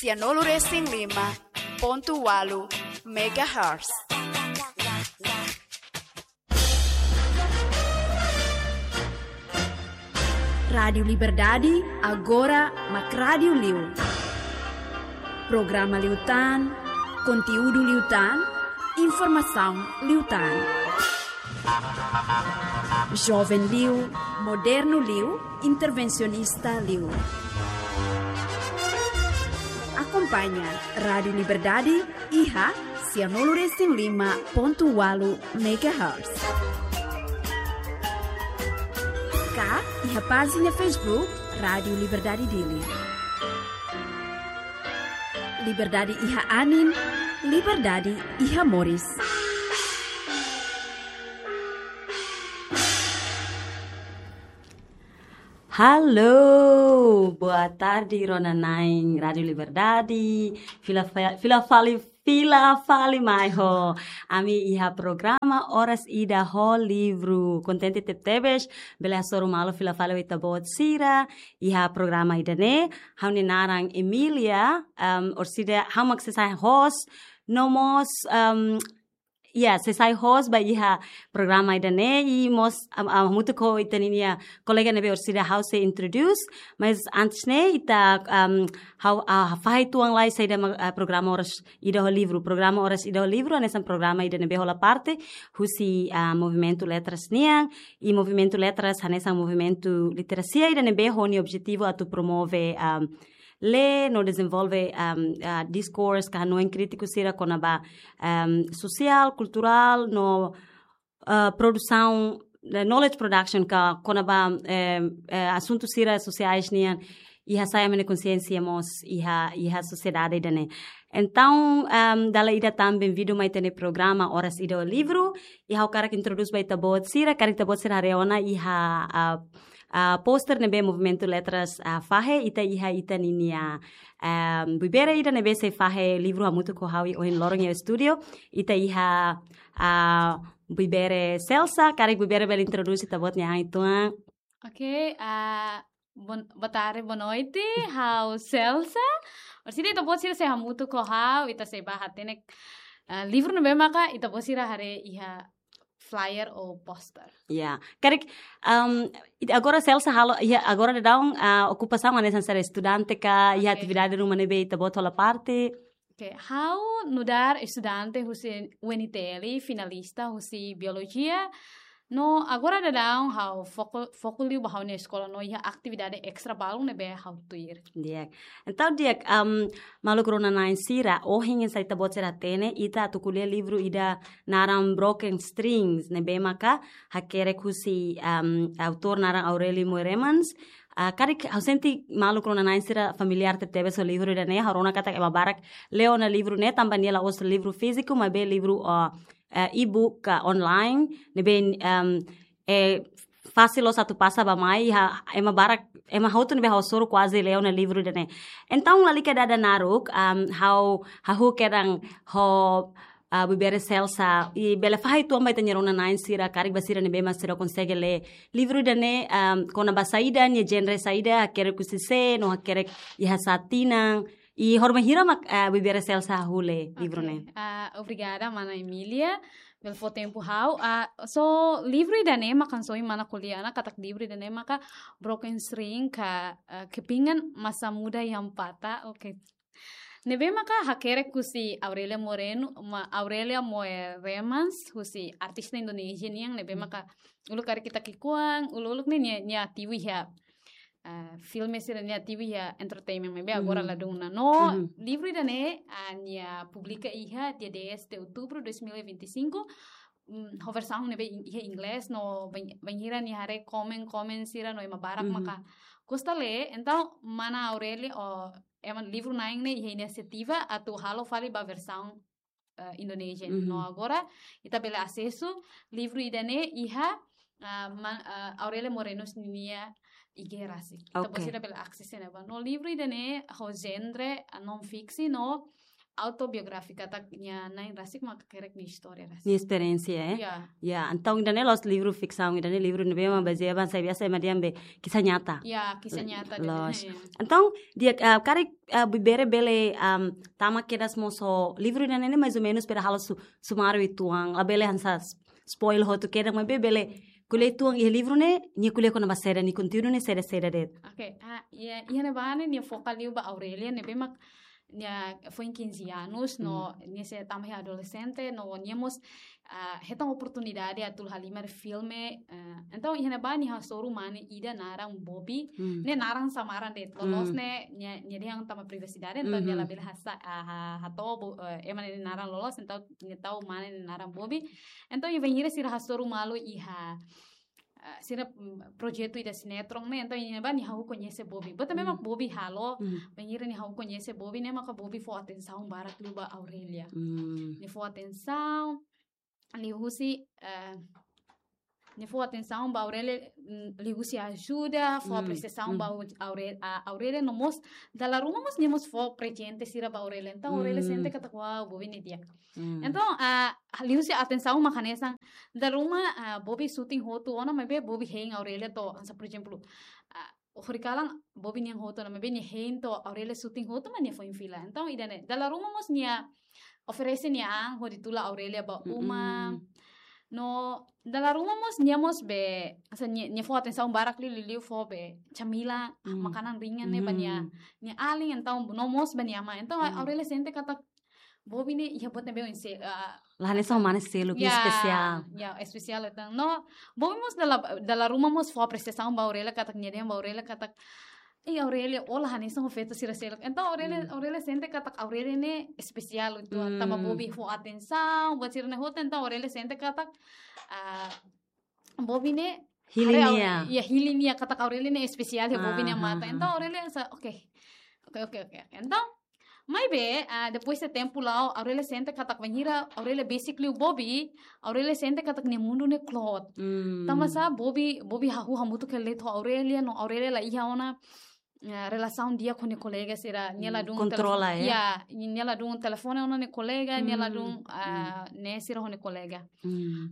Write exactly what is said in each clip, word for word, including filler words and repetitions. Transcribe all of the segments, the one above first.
Sianulu resin lima pontu ualu megahertz. Rádiu Liberdade, agora mak rádiu liu. Programa liután, konteúdu liután, informasaun liután. Joven liu, modernu liu, intervensionista liu. Akompaña Rádiu Liberdade iha sianulu resin lima pontu ualu megahertz. Ka iha pájina Facebook Rádiu Liberdade Dili. Liberdade iha anin, liberdade iha moris. Halo, boa tarde, rona-na'in Rádiu Liberdade. Fila fa-, fila fali, fila fali mai ho ami iha programa Oras Ida ho Livru. Kontente tebetebes, bele hasoru malu fila fali ho ita-boot sira iha programa ida-ne'e. Ha'u-nia naran Emilia, um, orsida ha'u mak sei sai host, no mós, um, ya, sei sai host ba iha programa ida-ne'e, i mós, um, um, hamutuk ho ita-nia kolega ne'ebé orsida ha'u sei introduce, mas antes ne'e ita, um, ha'u, ah, fahe uitoan lai saida mak, ah, programa Oras Ida ho Livru. Programa Oras Ida ho Livru hanesan programa ida ne'ebé hola parte husi, ah, Movimentu Letras nian, i Movimentu Letras hanesan movimentu literasia ida ne'ebé ho nia objetivu atu promove, um, lee no dezenvolve, um, ah, diskursu ka hanoin krítiku sira kona-ba, um, sosiál, kulturál no, ah, produsaun, eh, knowledge production ka kona-ba, eh, eh, asuntu sira sosiais nian, i hasa'e ami-nia konxiénsia mós iha, iha sosiedade ida-ne'e. Entaun, um, dala ida tan benvindu mai ita-nia programa Oras Ida ho Livru, i ha'u hakarak introdús ba ita-boot sira, karik ita-boot sira haree ona iha, ah, ah, poster ne'ebé Movimentu Letras, ah, fahe, ita iha ita ninia, ah, buibere ida ne'ebé sei fahe livru hamutuk ho ha'u ohin loron iha estúdiu, ita iha, ah, buibere Celsa, karik buibere bele introdús ita-boot nia an uitoan. Oke, ah, bon-, boa tarde, boa noite, ha'u Celsa. Orsida ita-boot sira sei hamutuk ho ha'u, ita sei bá hatene, ah, livru ne'ebé maka ita-boot sira haree iha flyer ou poster. Ya, karik, um, it-, agora Celsa halo, ya, agora daudaun, ah, okupasaun hanesan ser estudante ka, ya, oke, atividade ruma ne'ebé ita-boot hola parte. Oke, ha'u nu'udar estudante husi U N T L, finalista husi biolojia. No agora daudaun ha'u foku, foku liu ba ha'u-nia eskola no iha atividade estra balun ne'ebé ha'u tuir. Di'ak. Entaun di'ak, um, maluk rona-na'in sira, ohin hanesan ita-boot sira hatene, ita atu ko'alia livru ida naran Broken Strings, ne'ebé maka hakerek husi, um, autór naran Aurélio Moereman. Ah, karik ha'u sente maluk rona-na'in sira familiár tebetebes ho livru ida-ne'e, ha'u rona katak ema barak lee ona livru ne'e, tanba nia la'ós livru fíziku, maibé livru, ah, eh, e-book ka online, ne'ebé, um, eh, fasil loos atu pasa bá-mai, ha, ema barak, ema hotu ne'ebé ha'u hasoru kuaze lee ona livru ida-ne'e. Entaun lalika dada naruk, um, ha'u, hahú kedan ho, ah, buibere Celsa, i bele fahe uitoan ba ita-nia rona-na'in sira, karik ba sira ne'ebé mak seidauk konsege lee livru ida-ne'e, um, kona-ba saida, nia genre saida, hakerek husi sé, no hakerek iha sá tinan, i horibainhira mak, ah, buibere Celsa hahú lee livru ne'e. Oke. Ah, obrigada, mana Emilia, bele fó tempu ha'u. Ah, so, livru ida-ne'e mak hanesan ohin mana ko'alia ona katak livru ida-ne'e maka Broken String ka, ah, Kepingan Masa Muda yang Patah. Oke. Ne'ebé maka hakerek husi Aurélia Moreno, ma-, Aurélia Moereman, husi artista Indonézia nian, ne'ebé maka uluk karik ita ki'ikoan, uluk-uluk ne'e nia, nia ativu iha, ah, filme sira, nia ativu iha entertainment, maibé agora ladún ona. No, livru ida-ne'e, ah, nia publika iha dia dez de outubro dois mil e vinte e cinco, mm, ho versaun ne'ebé in-, iha inglés, no bain-, bainhira nia haree komen-komen sira no ema barak maka gosta lee, entaun mana Aurélia, o, ema livru-na'in ne'e iha inisiativa atu halo fali ba versaun, eh, Indonézia. No agora, ita bele asesu livru ida-ne'e iha, ah, ma-, ah, Aurélia Moreno ninia I G rasik. Ita, oke, bosira bele akses ne'ebá. No livru ida-ne'e ho genre, ah, non-fiksi, no autobiográfika, katak nia na'in rasik mak hakerek nia istória rasik. Nia esperiénsia, eh? Ya. Ya, entaun ida-ne'e la'ós livru fiksaun, ida-ne'e livru ne'ebé mak bazeia ba, sabe, biasa ema dehan be kisah nyata. Ya, kisah nyata. Loos. Ya. Entaun, di'ak, ah, karik, ah, Bibere bele, am, tama kedas mós ho livru ida-ne'e, mais ou menus, para halo su, sumáriu uitoan, labele hanesan s-, spoil hotu kedas, maibé bele ko'alia uitoan iha livru ne'e, nia ko'alia kona-ba saida, nia konteúdu ne'e saida, saida de'it. Oke, ah, ya, iha ne'ebá ne'e nia foka liu ba Aurélia, ne'ebé mak nia foin quinze anos, no nia sei tama iha adolexente, no nia mós, ah, hetan oportunidade atu halimar filme, ah, entaun iha ne'ebá nia hasoru mane ida naran Bobi, ne'e naran samaran de'it, loloos ne'e nia, nia dehan tama privasidade, entaun nia labele hasa, ah, ha, hato'o bo-, eh, ema nia naran loloos, entaun nia tau mane nia naran Bobi. Entaun, nia bainhira sira hasoru malu iha, ah, sira, mm, projetu ida sinetron ne'e, entaun iha ne'ebá nia hahú koñese Bobi. Buat ne'ebé mak Bobi halo, bainhira nia hahú koñese Bobi, ne'e maka Bobi fó atensaun barak liu ba Aurélia. Nia fó atensaun, liuhusi, eh, nia fó atensaun ba Aurélia, mm, liuhusi ajuda, fó apresiasaun ba Auré-, a, Aurélia no mós, dala ruma mós nia mós fó prezente sira ba Aurélia. Entaun, Aurélia sente katak, "Wow, Bobi ne'e di'ak." Entaun, ah, liuhusi atensaun mak hanesan, dala ruma, ah, Bobi shooting hotu ona, maibé Bobi hein Aurélia to'o, hanesan, por ezemplu, ah, horikalan Bobi nian hotu ona, maibé nia hein to'o Aurélia shooting hotu mak nia foin fila. Entaun, ida-ne'e, dala ruma mós nia oferese nia an hodi tula Aurélia ba uma. No, dala ruma mós nia mós be, hanesan nia, nia fó atensaun barak liu, liu, liu fó be camilan, makanan ringan ne'e ba nia, nia alin, entaun no mós ba nia amá. Entaun, Aurélia sente katak Bobi ne'e iha buat ne'ebé oinsá, ah, La hanesan mane seluk, ya, espesiál. Ya, espesiál, entaun. No, Bobi mós dala, dala ruma mós fó apresiasaun ba Aurélia katak, nia dehan ba Aurélia katak, "Ei, Aurélia, ó la hanesan ho feto sira seluk." Entaun Aurélia, Aurélia sente katak Aurélia ne'e espesiál uitoan, tanba Bobi fó atensaun, buat sira-ne'e hotu, entaun Aurélia sente katak, ah, Bobi ne'e, Hili haree Au-, nia. Ya, hili nia, katak Aurélia ne'e espesiál iha Bobi nia matan. Entaun Aurélia hanesan, oke. Oke, oke, oke. Entaun, maibé, ah, depois de tempu la'o, Aurélia sente katak bainhira Aurélia besik liu Bobi, Aurélia sente katak nia mundu ne'e kloot. Tanba sá, Bobi, Bobi hahú hamutuk hela de'it ho Aurélia, no Aurélia la iha ona, ah, relasaun di'ak ho nia kolega sira, nia ladún Kontrola, telefone. Ya. Ya, nia ladún telefone ona nia kolega, nia ladún, ah, ne'e sira ho nia kolega.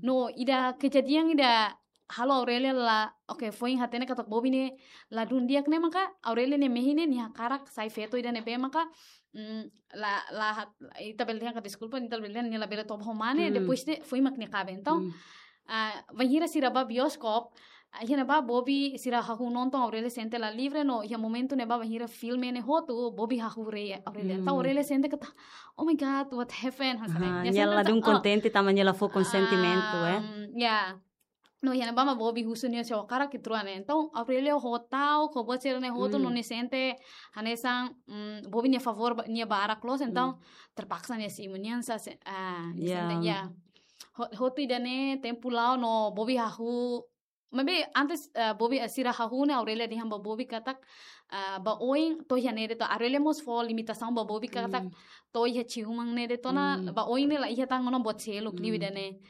No, ida kejadian ida halo Aurélia la, oke, foin hatene katak Bobi ne'e ladún di'ak ne'e maka, Aurélia nia mehi ne'e, nia hakarak sai feto ida ne'ebé maka, mm, la, la hat-, ita bele dehan ka deskulpa, ita bele dehan nia labele toba ho mane, depois de, foin mak nia kaben. Entaun, ah, bainhira sira ba bioskop, ah, iha ne'ebá Bobi sira hahú nonton, Aurélia sente la livre, no iha momentu ne'ebá bainhira filme ne'e hotu, Bobi hahú haree Aurélia. Entaun Aurélia sente katak, "Oh my God, what happened?" Hanesan ne'e. Nia sente katak, oh, kontente, tanba nia la fó konsentimentu, eh. Ah, ya. No, iha ne'ebá mak Bobi husu nia se hakarak ke trua ne'e. Entaun, Aurélia ho ta'uk, ho buat sira-ne'e hotu, no nia sente hanesan, mm, Bobi nia favór ba, nia barak loos, entaun, terpaksa nia simu, nia hanesan, ah, nia sente, ya. Ho-, hotu ida-ne'e, tempu la'o no Bobi hahú. Maibé antes, eh, Bobi, eh, sira hahú ne'e, Aurélia dehan ba Bobi katak, ah, ba oin, to'o iha ne'e de'it, Aurélia mós fó limitasaun ba Bobi katak, to'o iha ciúman ne'e de'it ona, ba oin ne'e la iha tan ona buat seluk liu ida-ne'e.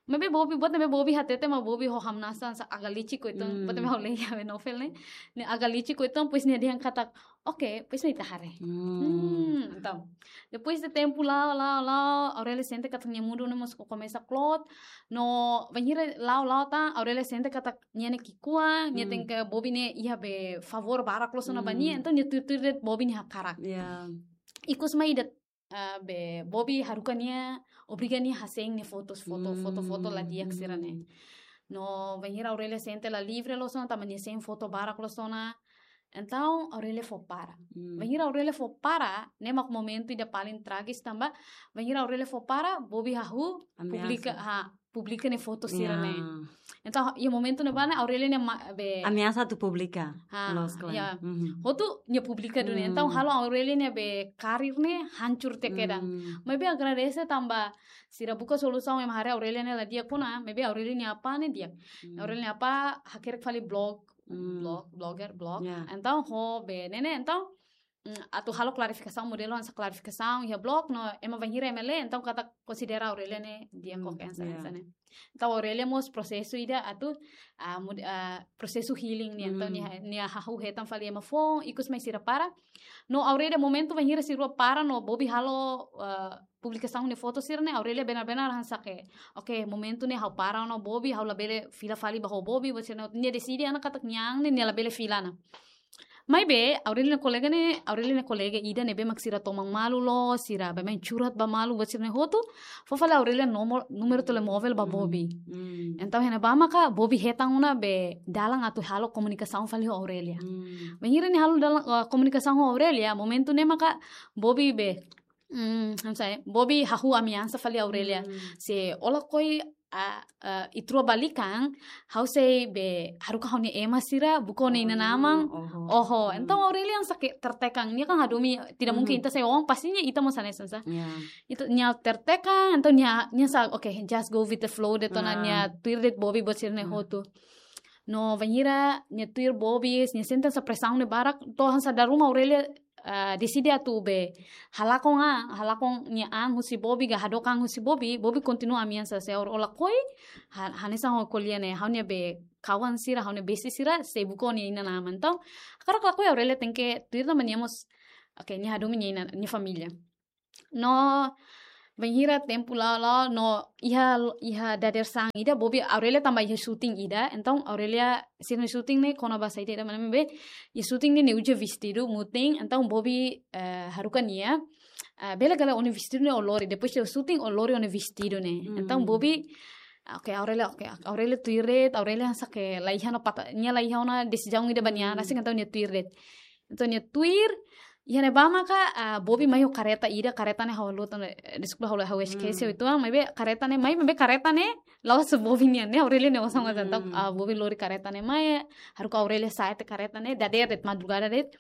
Maibé Bobi, buat ne'ebé Bobi hatete mak Bobi ho hamnasa hanesan agak licik uitoan, buat ne'ebé ha'u lee iha novel ne'e. Ne'e agak licik uitoan, depois nia dehan katak, "Oke, depois ne'e ita haree." Hmm, entaun. Depois de tempu la'o, la'o, la'o, Aurélia sente katak nia mundu ne'e mós komesa kloot. No, bainhira la'o, la'o tan, Aurélia sente katak nia ne'e ki'ikoan, nia hatene katak Bobi ne'e iha be favór barak loos ona ba nia, entaun nia tuir-tuir de'it Bobi nia hakarak. Ya. Ikus mai ida ah, be, Bobi haruka nia, obriga nia hasein nia fotos, foto, foto, foto la di'ak sira-ne'e. No, bainhira Aurélia sente la livre loos ona, tanba nia sein foto barak loos ona. Entaun, Aurélia fó para. Bainhira Aurélia fó para, ne'e mak momentu ida paling tragis tanba, bainhira Aurélia fó para, Bobi hahú, Ameasa. Publika, ha, publika nia foto sira-ne'e. Ya. Entaun, iha momentu ne'ebá ne'e, Aurélia nia ma-, be, Ameasa atu publika. Ha, Loos, klaru. Ya. Mhm. Hotu nia publika duni. Entaun, halo Aurélia nia be karir ne'e hancur tiha kedan. Maibé agradese tanba sira buka solusaun ema haree Aurélia ne'e la di'ak ona, maibé Aurélia nia apá ne'e di'ak. Aurélia nia apá hakerek fali blog, blog, blogger, blog. Ya. Entaun, ho be ne'e ne'e, entaun, mm, atu halo klarifikasaun, modelu hanesan klarifikasaun iha blog, no ema bainhira ema lee, entaun katak konsidera Aurelia ne'e di'ak, mm, oke, hanesan, ya, hanesan ne'e. Entaun Aurelia mós prosesu ida atu, ah, mud-, ah, prosesu healing nian, entaun, mm, nia, nia hahú hetan fali ema foun, ikus mai sira para. No Aurelia momentu bainhira sira rua para no Bobi halo, ah, publikasaun nia foto sira-ne'e, Aurelia benar-benar hanesan ke, oke, momentu ne'e ha'u para ona ho Bobi, ha'u labele fila fali ba ho Bobi, buat sira-ne'e, nia deside ona katak nia an ne'e, nia labele fila ona. Maibé, Aurelia nia kolega ne'e, Aurelia nia kolega ida ne'ebé mak sira toman malu loos, sira baibain curhat ba malu, buat sira-ne'e hotu, fó fali Aurelia nomor, númeru telemóvel ba, mm, Bobi. Mm. Entaun, iha ne'ebá maka Bobi hetan ona be dalan atu halo komunikasaun fali ho Aurelia. Mm. Bainhira nia halo dalan, ah, komunikasaun ho Aurelia, momentu ne'e maka Bobi be, mm, hanesan, Bobi hahú ameasa fali Aurelia. Mm. Se ó lakohi, ah, ah, ita rua balikan, ha'u sei be haruka ha'u-nia ema sira buka ó-nia inan-aman. Oh, oho. Oho. Hmm. Entaun Aurelia hanesan ke tertekan. Nia kan hadomi, tidak mungkin, hmm, ita sai oan, pastinya ita mós hanesan sá. Ya. Ita, nia tertekan, entaun nia, nia hanesan, oke, just go with the flow de'it ona, ah, nia tuir de'it Bobi buat sira-ne'e, hmm, hotu. No bainhira nia tuir Bobi, nia sente hanesan presaun ne'e barak, to'o hanesan dala ruma Aurelia, ah, deside atu be halakon an, halakon nia an husi Bobi, ka hadook an husi Bobi, Bobi kontinua ameasa, se ó lakohi, ha-, hanesan ho kolega ne'e, ha'u-nia be kawan sira, ha'u-nia besti sira, sei buka ó-nia inan-aman. Entaun, hakarak ka lakohi Aurelia tenke tuir tanba nia mós, oke, nia hadomi nia inan, nia família. No, bainhira tempu la'o, la'o, no iha, iha dadeer-saan ida, Bobi, Aurelia tanba iha shooting ida, entaun Aurelia, sira-nia shooting ne'e kona-ba saida ida, maibé, iha shooting ne'e nia uza vestidu mutin, entaun Bobi, eh, haruka nia, eh, bele ka lae ó-nia vestidu ne'e ó lori, depois de shooting ó lori ó-nia vestidu ne'e. Hmm. Entaun Bobi, oke, Aurelia, oke, Aurelia tuir de'it, Aurelia hanesan ke la iha ona pata, nia la iha ona desizaun ida ba nia an, hmm, rasik, entaun nia tuir de'it. Entaun nia tuir, iha ne'ebá maka, ah, Bobi mai ho kareta ida, kareta ne'e ha'u haluha tan, eh, deskulpa, ha'u, ha'u eskese, hmm, uitoan, maibé kareta ne'e mai, maibé kareta ne'e la'ós Bobi nian, ne'e Aurelia nia osan matan. Entaun, hmm, ah, Bobi lori kareta ne'e mai, haruka Aurelia sa'e tiha kareta ne'e, dadeer de'it, madrugada de'it.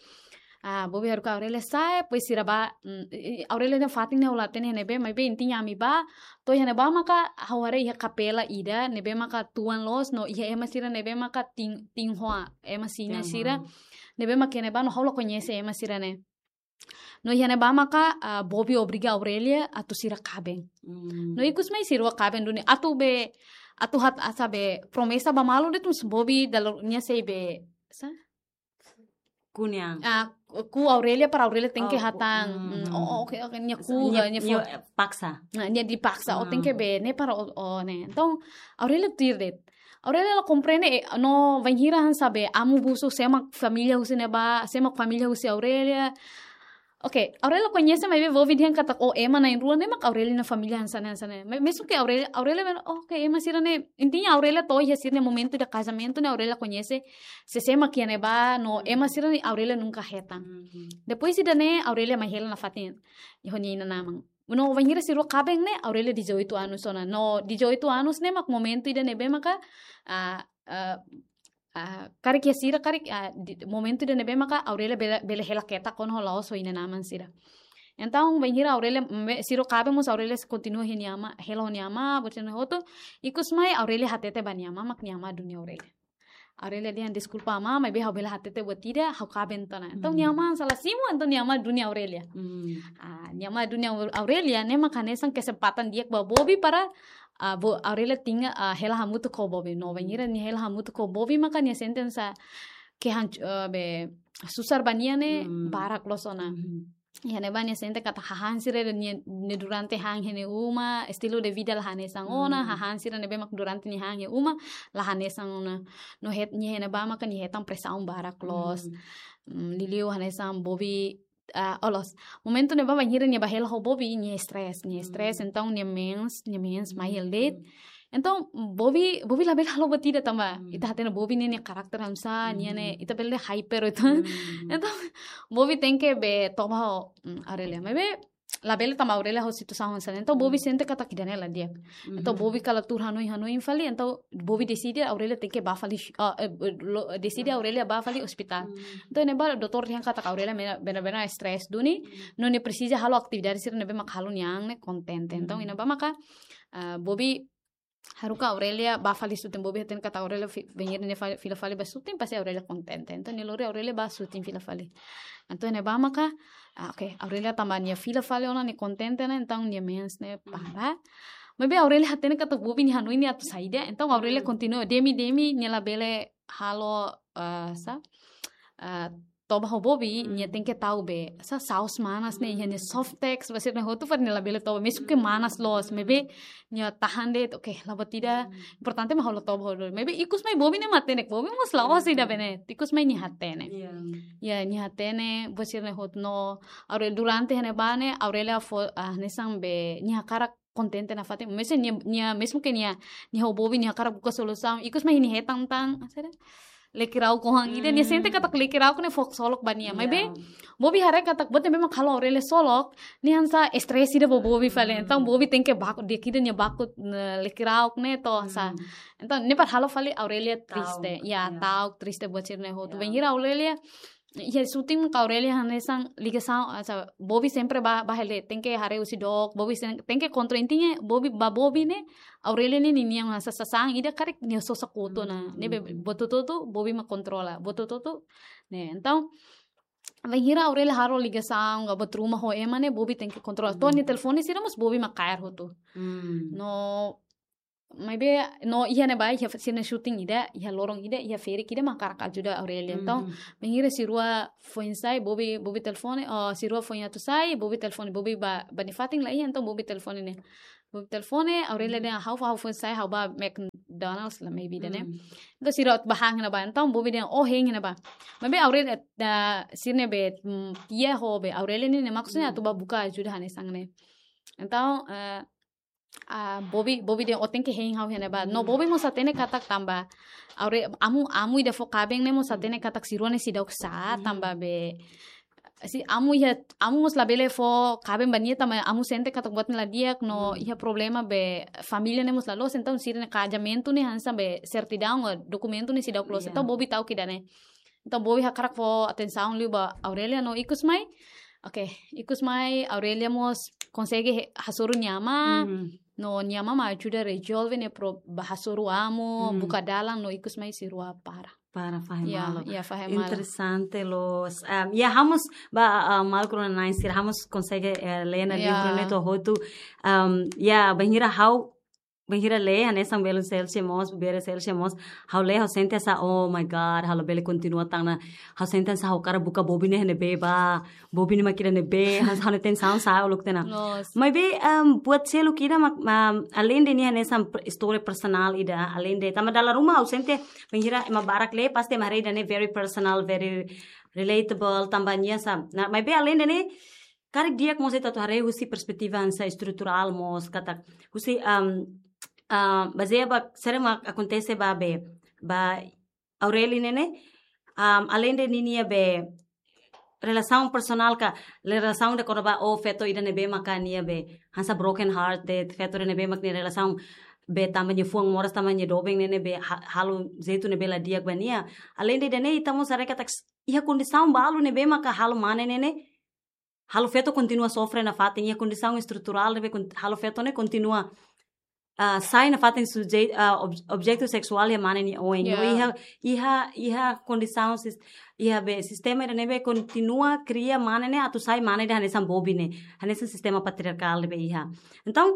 Ah, Bobi haruka Aurelia sa'e, depois sira bá, mm, i, i, Aurelia nia fatin ne'e ha'u la hatene ne'ebé, maibé intinya ami bá, to'o iha ne'ebá maka ha'u haree iha kapela ida, ne'ebé maka tuan loos, no iha ema sira ne'ebé maka tin, tiha ona, ema sira, tiha ona, sira, ne'ebé maka iha ne'ebá no ha'u la koñese ema sira-ne'e. No iha ne'ebá maka, ah, Bobi obriga Aurelia atu sira kaben. Hmm. No ikus mai sira rua kaben duni atu be, atu hat-, asa be promesa ba malu de'it mós Bobi dala ruma nia sei be, sá? Kunyang. Ah, kuu Aurelia para Aurelia tenke, oh, ku-, hatán. Hmm. Hmm, oh, oh, oke, oke, nia kuu, nia, nia, nia fo-, eh, paksa. Nah, nia dipaksa, ó, hmm, tenke be ne'e para ó, ó ne'e. Entaun, Aurelia tuir de'it. Aurelia la komprende, eh, no bainhira hanesan be amu busu sé mak família husi ne'ebá, sé mak família husi Aurelia. Oke, Aurelia koñese maibé Bobi dehan katak, oh, ema na'in-rua ne'e mak Aurelia nia família hanesan ne'e, hanesan ne'e. Me-, mesun ke Aurelia, Aurelia, oke, ema sira-ne'e, intinya Aurelia to'o iha sira-nia momentu ida kazamentu ne'e Aurelia koñese, sé, sé mak iha ne'ebá, no, hmm, ema sira-ne'e Aurelia nunka hetan. Hmm. Depois ida-ne'e Aurelia mai hela nafatin, iha nia inan-aman. No bainhira sira rua kaben ne'e, Aurelia dezoito anos ona. No dezoito anos ne'e mak momentu ida ne'ebé maka, ah, ah, ah, karik iha sira, karik, ah, di, momentu ida ne'ebé maka Aurelia bele, bele hela ketak kona ho la'ós ho inan-aman sira. Entaun, bainhira Aurelia, mm, sira rua kaben mós Aurelia sei kontinua iha nia amá, hela ho nia amá, buat sira-ne'e hotu. Ikus mai Aurelia hatete ba nia amá, mak nia amá duni Aurelia. Aurelia dehan, deskulpa amá, maibé ha'u bele hatete buat ida, ha'u kaben tiha ona. Entaun, hmm, nia amá sala simu, entaun nia amá duni Aurelia. Hmm. Ah, nia amá duni Au-, Aurelia, ne'e mak hanesan kesempatan di'ak ba Bobi para, ah, Bo-, Aurelia tenke, ah, hela hamutuk ho Bobi. No, bainhira nia hela hamutuk ho Bobi, maka nia sente hanesan ke hanc-, eh, be, susar ba nia ne'e, hmm, barak loos ona. Hmm. Iha ne'ebá nia sente katak hahán sira ne'e, ne'e durante han iha nia uma, estilu de vida la hanesan ona, hmm, hahán sira ne'ebé mak durante nia han iha uma, la hanesan ona. No het-, nia iha ne'ebá maka nia hetan presaun barak loos. Hmm. Mm, liuliu hanesan Bobi, ah, oh, loos. Momentu ne'ebá bainhira nia bá hela ho Bobi, nia stress, nia stress, hmm, entaun nia mens, nia mens mai, hmm, hela de'it. Entaun, Bobi, Bobi labele halo buat ida tanba, hmm, ita hatene Bobi ne'e nia karakter hanesan, nia ne'e, hmm, ita bele hyper uitoan. Hmm. Entaun, Bobi tenke be toba ho, mm, Aurelia. Maibé, labele tanba Aurelia ho situasaun hanesan ne'e. Entaun, Bobi, hmm, sente katak ida-ne'e la di'ak. Entaun, hmm, Bobi kala tuur hanoin, hanoin fali, entaun Bobi deside Aurelia tenke bá fali, ah, eh, lo-, deside, hmm, Aurelia bá fali ospitál. Hmm. Entaun, iha ne'ebá doutór dehan katak Aurelia mena-, benar-benar stress duni, hmm, no nia presiza halo atividade sira ne'ebé mak halo nia an ne'e kontente. Entaun, hmm, iha ne'ebá maka, ah, Bobi haruka Aurelia bá fali shooting, Bobi hatene katak Aurelia fi-, bainhira nia fa-, fila fali bá shooting, pasti Aurelia kontente. Entaun nia lori Aurelia bá shooting fila fali. Entaun ne'ebá maka, ah, oke, Aurelia tanba nia fila fali ona nia kontente ona, entaun nia mens ne'e para. Maibé Aurelia hatene katak Bobi nia hanoin nia atu saida, entaun Aurelia kontinua, demi, demi, nia labele halo, ah, sá, ah, toba ho Bobi, nia tenke tau be, sá, saus manas ne'e, iha nia Softex, ba sira-ne'e hotu para nia labele toba, mezmu ke manas loos, maibé nia tahan de'it, oke, la buat ida, importante mak ha'u la toba ho Bobi. Maibé ikus mai Bobi ne'e matenek, Bobi mós la'ós ida be ne'e, ikus mai nia hatene. Ya, nia hatene, ba sira-ne'e hotu no, agora durante iha ne'ebá ne'e, Aurelia fó, ah, hanesan be, nia hakarak kontente nafatin. Mezmu nia, nia, mezmu ke nia, nia ho Bobi, nia hakarak buka solusaun. Ikus mai nia hetan tan, sira, lekirauk oan ida, nia sente katak lekirauk ne'e fó ksolok ba nia. Maibé, Bobi haree katak buat ne'ebé mak halo Aurelia ksolok, nia hanesan stress ida ba Bobi fali. Entaun Bobi tenke baku, di'ak ida nia baku, ne'e, lekirauk ne'e to, sá. Entaun ne'e para halo fali Aurelia triste. Ya, ta'uk triste buat sira-ne'e hotu. Bainhira Aurelia iha shooting ka Aurelia hanesan ligasaun, ah, sá, Bobi sempre bá, bá hela, tenke haree husi dook, Bobi sen-, tenke kontrola, intinya Bobi, ba Bobi ne'e, Aurelia ne'e ninia hanesan sasán ida karik nia sosa kotu ona, ne'ebé buat hotu-hotu Bobi mak kontrola, buat hotu-hotu, ne'e. Entaun, bainhira Aurelia halo ligasaun, ka buat ruma ho ema ne'e, Bobi tenke kontrola. To'o nia telefone sira mós Bobi mak kaer hotu. No, maibé, no, iha ne'ebá, iha sira-nia shooting ida, iha loron ida, iha ferik ida mak hakarak ajuda Aurelia. Entaun, bainhira sira rua foin sai, Bobi, Bobi telefone, oh, sira rua foin atu sai, Bobi telefone, Bobi ba, ba nia fatin la iha, entaun Bobi telefone ne'e. Bobi telefone, Aurelia dehan ha'u, ha'u foin sai, ha'u ba McDonald's la maybe ida ne'e. Entaun sira rua bá han iha ne'ebá, entaun Bobi dehan, oh, hein iha ne'ebá. Maibé Aurelia, ah, sira-ne'e be, mm, tia ho be, Aurelia ne'e, ne'e maksudnya atu bá buka ajuda hanesan ne'e. Entaun, eh, ah, Bobi, Bobi dehan, ó tenke hein ha'u iha ne'ebá. No Bobi mós hatene katak tanba Aure-, amu, amu ida fó kaben ne'e mós hatene katak sira rua ne'e seidauk sá, tanba be, si amu iha, amu mós labele fó kaben ba nia tanba amu sente katak buat ne'e la di'ak no iha problema be família ne'e mós la loos, entaun sira-nia kazamentu ne'e hanesan be sertidaun, dokumentu ne'e seidauk loos. Entaun Bobi ta'uk ida-ne'e. Entaun Bobi hakarak fó atensaun liu ba Aurelia no ikus mai. Oke, ikus mai Aurelia mós konsege he-, hasoru nia amá. No nia amá mak ajuda rezolve ne'e pro-, bá hasoru amu, buka dalan no ikus mai sira rua para. Para fahe malu. Ya, fahe malu. Interesante loos. Em, ya, ha'u mós ba, ah, maluk rona-na'in sira, ha'u mós konsege, eh, lee ona livru ne'e to'o hotu. Em, ya, bainhira ha'u bainhira lee, hanesan belun Celsia mós, Bere Celsia mós, ha'u lee, ha'u sente hanesan, oh my God, ha'u labele kontinua tan ona, ha'u sente hanesan ha'u hakarak buka Bobi ne'e iha ne'ebé ba, Bobi ne'e mak iha ne'ebé, hanesan ha'u-nia atensaun sa'e uluk tiha ona. Loos. Maibé, em, buat seluk ida mak, em, alende nia hanesan per-, istória personál ida, alende, tanba dala ruma ha'u sente, bainhira ema barak lee, pasti ema haree ida-ne'e very personal, very relatable, tanba nia hanesan. Nah, maibé alende ne'e, karik di'ak mós ita atu haree husi perspetiva hanesan estruturál mós katak husi, am, ah, bazeia ba sira-ne'ebé mak akontese ba be, ba Aurelia ne'e ne'e, am, alende ninia be relasaun personál ka relasaun ida kona-ba, oh, feto ida ne'ebé maka nia be hanesan broken heart de'it, feto ida ne'ebé mak nia relasaun be tanba nia fuan moras tanba nia doben ne'e ne'e be ha-, halo jeitu ne'ebé la di'ak ba nia. Alende ida-ne'e ita mós haree katak s-, iha kondisaun balu ne'ebé maka halo mane ne'e ne'e halo feto kontinua sofre nafatin, iha kondisaun estruturál ne'ebé kon-, halo feto ne'e kontinua, ah, sai nafatin sujeitu, ah, ob-, objetu seksuál iha mane nia oin. No iha, iha, iha kondisaun sis-, iha be sistema ida ne'ebé kontinua kria mane ne'e atu sai mane ida hanesan Bobi ne'e, hanesan sistema patriarkál ne'ebé iha. Entaun,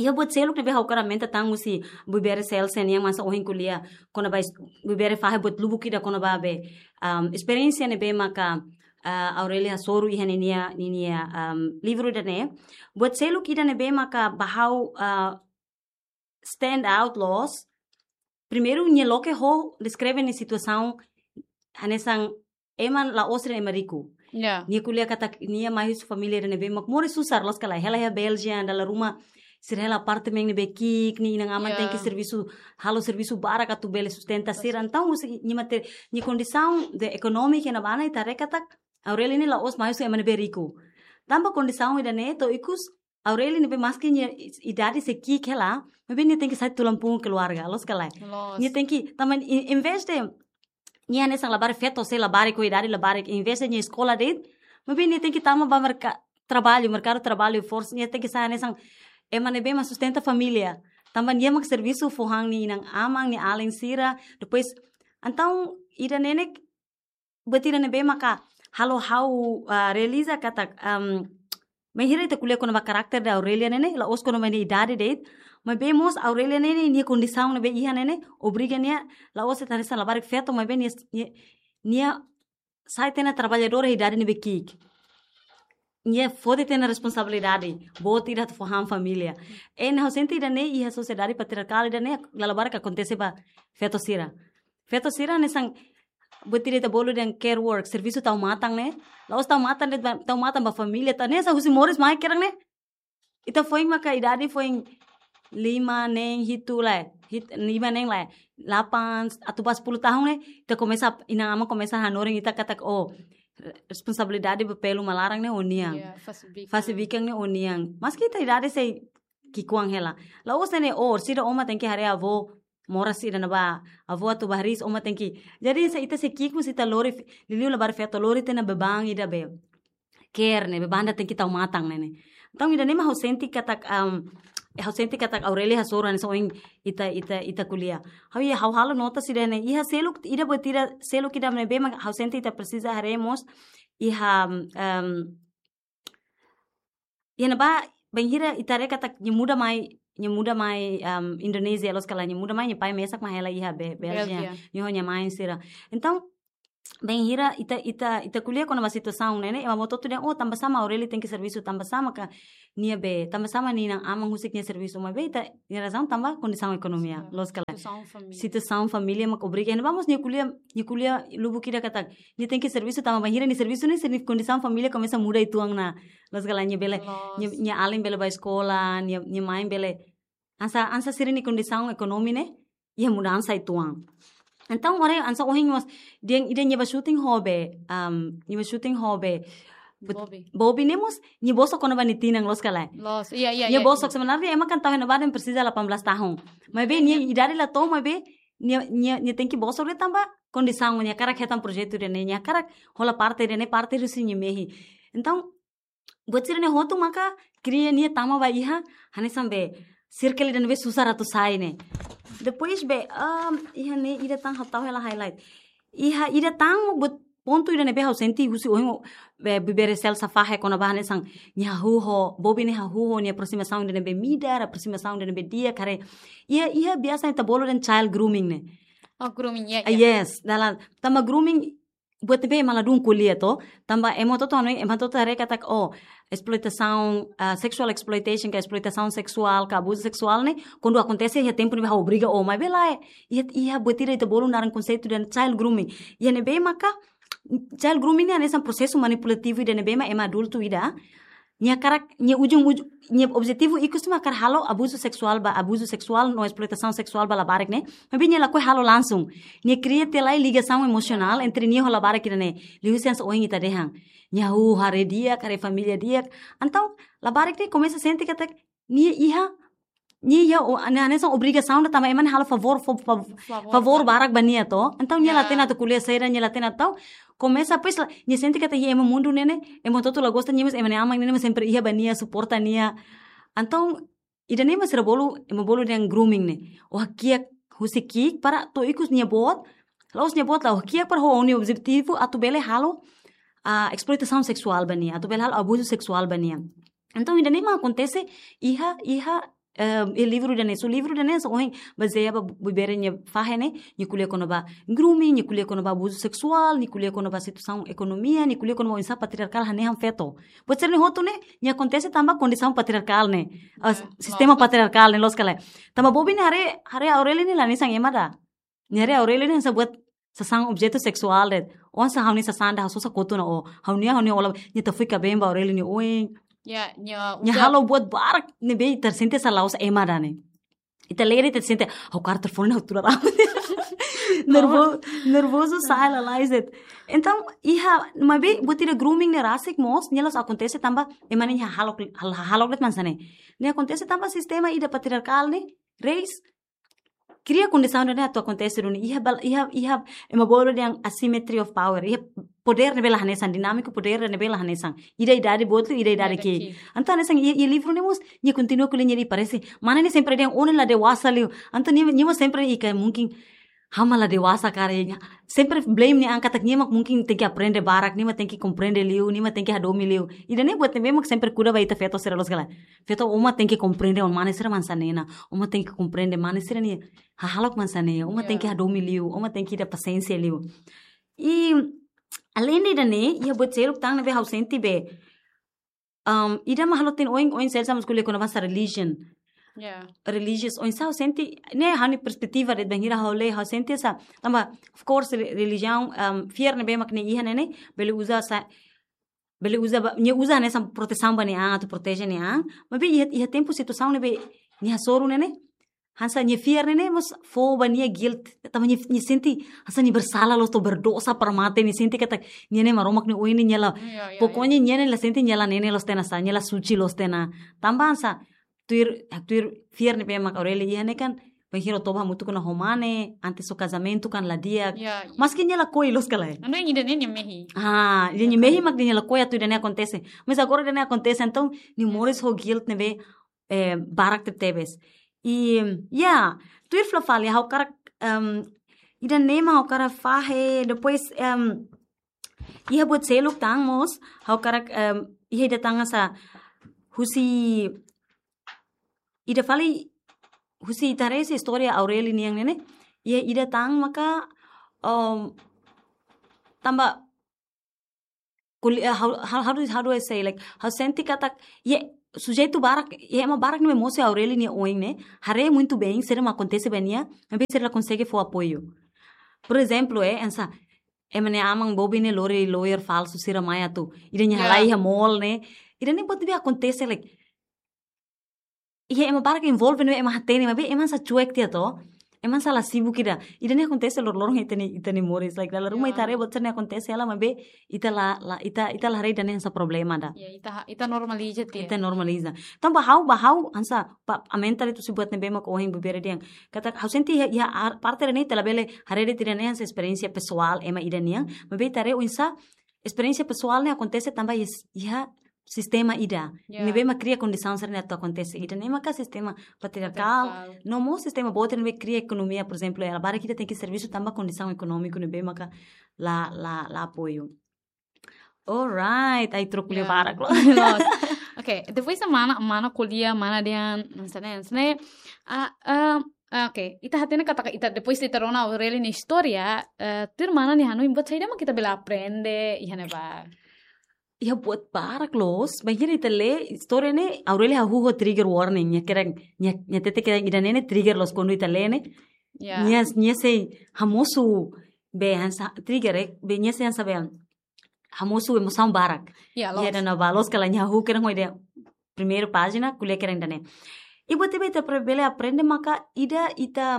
iha buat seluk ne'ebé ha'u hakarak aumenta tan husi Bibere Celsia nian mak hanesan ohin ko'alia kona-ba es-, Bibere fahe buat lubuk ida kona-ba be, um, esperiénsia ne'ebé maka, ah, Aurelia hasoru iha ninia, ninia, um, livru ida-ne'e. Buat seluk ida ne'ebé maka ba ha'u, ah, stand out loos. Primeiru, nia loke ho deskreve nia situasaun hanesan ema la'ós sira ema riku. Ya. Nia ko'alia katak nia mai husi família ida ne'ebé mak moris susar loos ka lae. Hela iha Bélgika, dala ruma sira hela apartamentu ne'ebé ki'ik, nia inan-aman tenke servisu, halo servisu barak atu bele sustenta sira. Entaun, husi nia mate-, nia kondisaun de ekonómika iha ne'ebá ne'e ita haree katak Aurelia ne'e la'ós mai husi ema ne'ebé riku. Tanba kondisaun ida-ne'e to'o ikus Aurelia ne'ebé maski nia i-, idade sei ki'ik hela, maibé nia tenke sai tulang punggung keluarga, loos ka lae? Loos. Nia tenke, tanba i-, em vez de nia hanesan labarik feto sei labarik ho idade labarik, em vez de nia eskola de'it, maibé nia tenke tama ba merka-, traballu, merkadu traballu, forsa, nia tenke sai hanesan ema ne'ebé mak sustenta família. Tanba nia mak servisu fó han nia inan-aman, nia alin sira. Depois, entaun ida-ne'e ne'e buat ida ne'ebé maka halo ha'u, ah, realiza katak, am, bainhira ita ko'alia kona-ba karakter de Aurelia ne'e ne'e, la'ós kona-ba nia idade de'it, maibé mós Aurelia ne'e ne'e, nia kondisaun ne'ebé iha ne'e ne'e, obriga nia, la'ós ita hanesan labarik feto, maibé nia, nia, nia sai tiha ona traballadora iha idade ne'ebé ki'ik. Nia foti tiha ona responsabilidade boot ida atu fó han família. Ne'e ha'u sente ida-ne'e iha sosiedade patriarkál ida-ne'e, dala barak akontese ba feto sira. Feto sira hanesan buat ida ita bolu dehan care work, servisu tau matan ne'e. La'ós tau matan de'it ba, tau matan ba família, tau ne'e hanesan husi moris mai kedan ne'e. Ita foin maka idade foin lima, neen, hitu lae. Hit-, lima, neen lae. Delapan, atu ba sepuluh tahun ne'e, ita komesa, inan-aman komesa hanorin ita katak, oh, responsabilidade ba pelu ma laran ne'e ó-nian. Ya, fase bikan. Fase bikan ne'e ó-nian. Maski ita idade sei ki'ikoan hela. La'ós ne'e, oh, orsida ó mak tenke haree avó, moras ida ne'ebá, avó atu bá hariis, ó mak tenke. Jadi, se ita sei ki'ik mós ita lori, liuliu labarik feto lori tiha ona beban ida be care ne'e, beban ida tenke tau matan ne'e ne'e. Entaun, ida-ne'e mak ha'u sente katak, am, ha'u sente katak Aurelia hasoru hanesan ohin ita, ita, ita ko'alia. Ha'u iha, ha'u halo nota sira ne'e, iha seluk, ida buat ida, seluk ida ne'ebé mak ha'u sente ita presiza haree mós, iha, am, iha ne'ebá, bainhira ita haree katak nia muda mai, nia muda mai, am, Indonézia, loos ka lae, nia muda mai, nia pai mesak mak hela iha Bé-, Bélgika. Bélgika. Nia ho nia mãe sira. Entaun, bainhira ita, ita, ita ko'alia kona-ba situasaun ne'e ne'e, ema hotu-hotu dehan, oh, tanba sá mak Aurelia tenke servisu, tanba sá mak nia be, tanba sá mak nia inan-aman husik nia servisu, maibé ita, nia razaun tanba kondisaun ekonomia, loos ka lae. Situasaun família. Situasaun família mak obriga. Ne'ebá mós nia ko'alia, nia ko'alia lubuk ida katak nia tenke servisu tanba bainhira nia servisu ne'e, nia kondisaun família komesa muda uitoan ona. Loos ka lae, nia bele, nia, nia alin bele bá eskola, nia, nia mãe bele. Hanesan, hanesan sira-nia kondisaun ekonomi ne'e iha mudansa uitoan. Entaun, agora hanesan ohin mós, nia, nia, nia bá shooting ho be, am, nia bá shooting ho be, but-, Bobi. Bobi ne'e mós, nia bosok kona-ba nia tinan, loos ka lae. Loos, iya, iya, iya. Nia bosok, sebenarnya ema kan tau iha ne'ebá dehan presiza delapan belas tahun. Maibé nia idade la to'o, maibé nia, nia, nia tenke bosok de'it tanba kondisaun, nia hakarak hetan projetu ida-ne'e, nia hakarak hola parte ida-ne'e, parte husi nia mehi. Entaun, buat sira-ne'e hotu maka kria nia tama ba iha, hanesan be, circle ida ne'ebé susar atu sai ne'e. Depois be, am, iha ne'e ida tan ha'u tau hela highlight. Iha ida tan buat pontu ida ne'ebé ha'u sente husi ohin, be, Bibi Rachel sá fahe kona-ba hanesan nia hahú ho, Bobi ne'e hahú ho nia aprosimasaun ida ne'ebé midar, aprosimasaun ida ne'ebé di'ak, haree. Iha, iha biasa ita bolu dehan child grooming ne'e. Oh, grooming, ya, ah, ya. Yes, dala, tanba grooming, buat ne'ebé ema ladún ko'alia to, tanba ema hotu-hotu hanoin, ema hotu-hotu haree katak, oh, esploitasaun, ah, sexual exploitation, ka esploitasaun seksuál, ka abuzu seksuál ne'e, kuandu akontese iha tempu ne'ebé ha'u obriga ó, maibé lae, iha, iha buat ida ita bolu naran konseitu dehan child grooming. Iha ne'ebé maka, child grooming ne'e hanesan prosesu manipulativu ida ne'ebé mak ema adultu ida, nia hakarak, nia ujung, uj-, nia objetivu ikus mak hakarak halo abuzu seksuál ba, abuzu seksuál no esploitasaun seksuál ba labarik ne'e. Maibé nia lakohi halo langsung. Nia kria tiha lai ligasaun emosionál entre nia ho labarik ida-ne'e. Liuhusi hanesan ohin ita dehan. Nia hahú haree di'ak, haree família di'ak. Entaun, labarik ne'e komesa sente katak nia iha, nia iha, o, nia hanesan obrigasaun ida tanba ema ne'e halo favór, fa-, fa-, favór, favór ba, barak ba nia to. Entaun, nia, ya, la hatene atu ko'alia saida, nia la hatene atu. Komesa, pois, la, nia sente katak iha ema mundu ne'e ne'e, ema hotu-hotu la gosta nia, mas ema nia aman ne'e ne'e, mas sempre iha ba nia, suporta nia. Entaun, ida-ne'e mak sira bolu, ema bolu dehan grooming ne'e. Ó hakiak husi ki'ik para to'o ikus nia boot, la'ós nia boot, la'ós hakiak para ho nia objetivu atu bele halo, ah, esploitasaun seksuál ba nia, atu bele halo abuzu seksuál ba nia. Entaun, ida-ne'e mak akontese iha, iha, eh, iha livru ida-ne'e. So, livru ida-ne'e, so, ohin, bazeia ba Bibi Rachel nia fahe ne'e, nia ko'alia kona-ba grooming, nia ko'alia kona-ba abuzu seksuál, nia ko'alia kona-ba situasaun ekonomia, nia ko'alia kona-ba oinsá patriarkál hanehan feto. Buat sira-ne'e hotu ne'e, nia akontese tanba kondisaun patriarkál ne'e. Ah, ya, sistema, loos, patriarkál ne'e, loos ka lae. Tanba Bobi ne'e haree, haree Aurelia ne'e la hanesan ema ida. Nia haree Aurelia ne'e hanesan buat sasán objetu seksuál de'it. Ó hanesan ha'u-nia sasán ida, ha'u sosa kotu ona ó. Ha'u-nia, ha'u-nia, ó la, nia tau fui kabeen ba Aurelia nia oin. Ya, nia, nia udah halo buat barak ne'ebé ita sente hanesan la'ós ema ida ne'e. Ita lee de'it ita sente, ha'u kaer telefone ha'u tuur rame. Nervo-, nervozu sa'e lalais de'it. Entaun, iha, maibé buat ida grooming ne'e rasik mós, nia la'ós akontese tanba ema ne'e hahalok, hal-, hahalok de'it mak hanesan ne'e. Nia akontese tanba sistema ida patriarkál ne'e, reis, kria kondisaun ida-ne'e atu akontese duni, iha bal-, iha, iha ema bolu dehan asymmetry of power, iha podér ne'ebé la hanesan, dinámika podér ne'ebé la hanesan. Ida idade boot liu, ida idade ki'ik. Entaun hanesan iha, iha livru ne'e mós, nia kontinua ko'alia, nia dehan parese mane ne'e sempre dehan ó ne'e la dewasa liu. Entaun nia, nia mós sempre dehan katak mungkin ha'u mak la dewasa karik. Sempre blame nia an katak nia mak mungkin tenke aprende barak, nia mak tenke komprende liu, nia mak tenke hadomi liu. Ida-ne'e buat ne'ebé mak sempre kuda ba ita feto sira loos ka lae. Feto, ó mak tenke komprende, ó mane sira mak hanesan ne'e ona. Ó mak tenke komprende mane sira-nia hahalok mak hanesan ne'e. Ó mak tenke hadomi liu, ó mak tenke iha pasiénsia liu. I alende ida-ne'e, iha buat seluk tan ne'ebé ha'u sente be, um, ida mak halo tan oin, oin seluk sama skuli kona-ba hanesan religion. Religious, oinsá ha'u sente, ne'e ha'u-nia perspetiva de'it, bainhira ha'u lee, ha'u sente hanesan, tanba, of course, re-, religiaun, um, fiar ne'ebé mak nia iha ne'e ne'e, bele uza hanesan, bele uza ba, nia uza hanesan protesaun ba nia an, atu proteje nia an, maibé iha, iha tempu situasaun ne'ebé nia hasoru ne'e ne'e, hanesan nia fiar ne'e ne'e mós fó ba nia guilt, tanba nia, nia sente hanesan nia bersala loos, to'o berdosa para mate, nia sente katak nia ne'e Maromak nia oin, nia la, pokoknya nia ne'e la sente nia la ne'e ne'e loos tiha ona, hanesan nia la suci loos tiha ona. Tanba hanesan tuir, tuir fiar ne'ebé mak Aurélia iha ne'e kan, bainhira ó toba hamutuk ona ho mane, antes ó kazamentu kan la di'ak. Maski nia lakohi loos ka lae. Anu ida-ne'e nia mehi. Ah, nia mehi mak nia lakohi atu ida-ne'e akontese. Mas agora ida-ne'e akontese, entaun nia moris ho guilt ne'ebé, eh, barak tebetebes. I, ya, tuir fila fali, ha'u hakarak, em, ida-ne'e mak ha'u hakarak fahe, depois, em, iha buat seluk tan mós, ha'u hakarak, em, iha ida tan hanesan husi, ida fali husi ita haree husi istória Aurélia nian ne'e ne'e, iha ida tan maka, em, tanba kuli-, eh, how, how, how do, how do I say, like, ha'u sente katak, iha sujeitu barak, iha ema barak ne'ebé mosu iha Aurélia nia oin ne'e, haree muito bem saida mak akontese ba nia, maibé sira la konsege fó apoiu. Por ezemplu, eh, hanesan, ema nia aman bobi ne'e lori lawyer falsu sira mai atu ida nia halai iha mall ne'e. Ida-ne'e buat ne'ebé akontese, like, iha ema barak envolve ne'ebé ema hatene, maibé ema hanesan cuek tiha to. Ema hanesan la sibuk ida. Ida-ne'e akontese loroloron iha ita-nia, ita-nia moris. Like, dala ruma ita haree buat sira-ne'e akontese hela, maibé ita la, la, ita, ita la haree ida-ne'e hanesan problema ida. Ya, ita ha-, ita normaliza tiha. Ita normaliza. Tanba ha'u, ba ha'u, hanesan, ba, aumenta de'it husi buat ne'ebé mak ohin bebere dehan. Katak, ha'u sente iha, iha ar-, parte ida-ne'e ita labele haree de'it ida-ne'e hanesan esperiénsia pesoál ema ida nian. Maibé ita haree oinsá esperiénsia pesoál ne'e akontese tanba iha, iha sistema ida. Ya. Ne'ebé mak kria kondisaun sira-ne'e atu akontese. Ida-ne'e maka sistema patriarkál. Patriarkál. No mós sistema boot ne'ebé kria ekonomia, por ezemplu, ela barak ita tenke servisu tanba kondisaun ekonómiku ne'ebé maka la, la, la apoiu. Alright, ai troku lia barak loos. Loos. Ok, depois de mana, mana ko'alia, mana dehan, hanesan ne'e, hanesan ne'e, ah, ah, ah, ok, ita hatene katak ita, depois de ita rona Aurélia nia istória, eh, tuir mana nia hanoin buat saida mak ita bele aprende, iha ne'ebá. Iha buat barak loos, bainhira ita lee istória ne'e, Aurélia hahú ho trigger warning, nia kedan, nia, nia hatete kedan ida-ne'e ne'e trigger loos kuandu ita lee ne'e. Ya. Nia, nia sei hamosu be hanesan trigger, eh, be nia sei hanesan be hamosu emosaun barak. Ya, loos. Ida-ne'ebá loos ka lae, nia hahú kedan ho ida primeiru pájina, ko'alia kedan ida-ne'e. I buat ne'ebé ita pre-, bele aprende maka ida ita,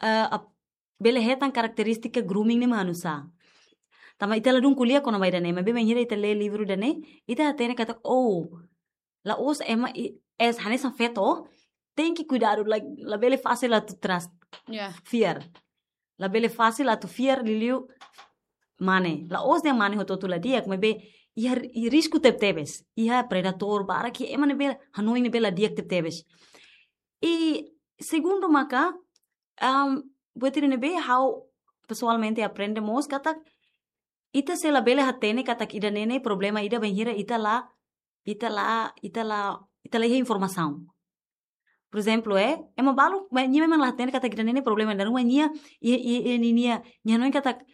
eh, ap-, bele hetan karakterístika grooming ne'e mak hanesan. Tanba ita ladún ko'alia kona-ba ida-ne'e, maibé bainhira ita lee livru ida-ne'e, ita hatene katak, oh, la'ós ema i-, es hanesan feto, tenke kuidadu, like, labele fasil atu trust. Ya. Fiar. Labele fasil atu fiar liuliu mane. La'ós dehan mane hotu-hotu la di'ak, maibé iha, iha risku tebetebes. Iha predadór barak, iha ema ne'ebé hanoin ne'ebé la di'ak tebetebes. I segundu maka, um, buat ida ne'ebé ha'u pesoalmente aprende mós katak ita sei labele hatene katak ida-ne'e ne'e problema ida bainhira ita la, ita la, ita la, ita la iha informasaun. Por ezemplu, eh, ema balu, ma-, nia memang la hatene katak ida-ne'e ne'e problema, dala ruma nia, i, i, i, ni-, nia, nia hanoin katak,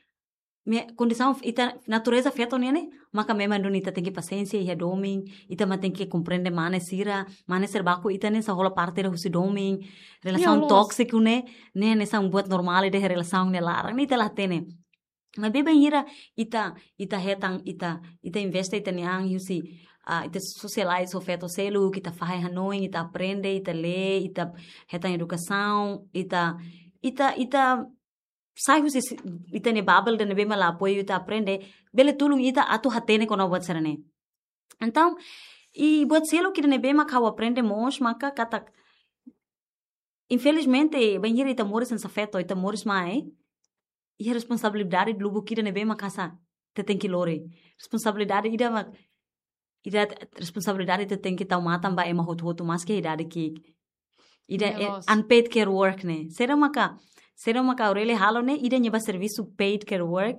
me, kondisaun ita, natureza feto nian ne'e, maka memang duni ita tenke pasiénsia iha domin, ita mak tenke komprende mane sira, mane sira baku ita ne'e hanesan hola parte ida husi domin, relasaun tóksiku ne'e, ne'e hanesan buat normál ida iha relasaun nia laran, ne'e ita la hatene. Maibé bainhira ita, ita hetan, ita, ita investe ita-nia an husi, ah, ita sosializa ho feto seluk, ita fahe hanoin, ita aprende, ita lee, ita hetan edukasaun, ita, ita, ita sai husi si-, ita-nia bubble ida ne'ebé mak la apoiu ita aprende, bele tulun ita atu hatene kona-ba buat sira-ne'e. Entaun, i buat seluk ida ne'ebé mak ha'u aprende mós maka katak infelizmente, bainhira ita moris hanesan feto, ita moris mai, iha responsabilidade lubuk ida ne'ebé mak hanesan ita tenke lori. Responsabilidade ida mak, ida responsabilidade ita tenke tau matan ba ema hotu-hotu maski idade ki'ik. Ida, eh, unpaid care work ne'e. Saida maka, saida maka Aurelia halo ne'e, ida nia ba servisu paid care work.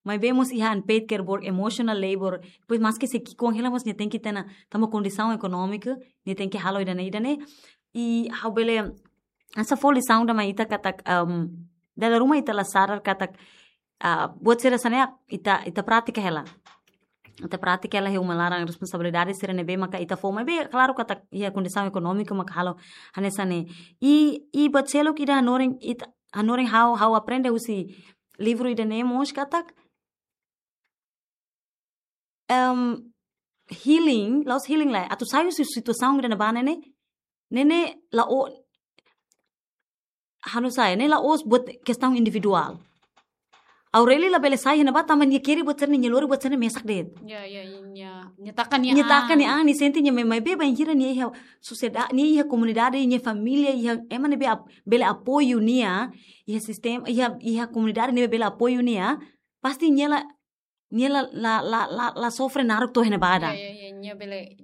Maibé mós iha unpaid care work, emotional labor. Depois maski sei ki'ikoan hela mós nia tenke tena, tanba kondisaun ekonómika, nia tenke halo ida-ne'e, ida-ne'e. I ha'u bele, hanesan fó lisaun ida mai ita katak, um, dala ruma ita la sadar katak, ah, buat sira hanesan ne'e ita, ita pratika hela. Ita pratika hela iha uma laran, responsabilidade sira ne'ebé maka ita fó, maibé klaru katak iha kondisaun ekonómika maka halo hanesan ne'e. I, i buat seluk ida hanorin, ita, hanorin ha'u, ha'u aprende husi livru ida-ne'e mós katak, em, healing, la'ós healing lae, atu sai husi situasaun ida ne'ebá ne'e, ne'e la'o, hanu sai, ne'e la'ós buat kestaun individuál. Aurelia labele sai iha ne'ebá tanba nia kere buat sira-ne'e, nia lori buat sira-ne'e mesak de'it. Ya, ya, ya, ya. Nia taka nia, nia taka nia an, nia sente nia, maibé bainhira nia iha sosiedade, nia iha komunidade, nia família, iha ema ne'ebé ap-, bele apoiu nia, iha sistema, iha, iha komunidade ne'ebé bele apoiu nia, pasti nia la, nia la, la, la, la, la sofre naruk to'o iha ne'ebá ida. Ya, ya, ya, nia bele,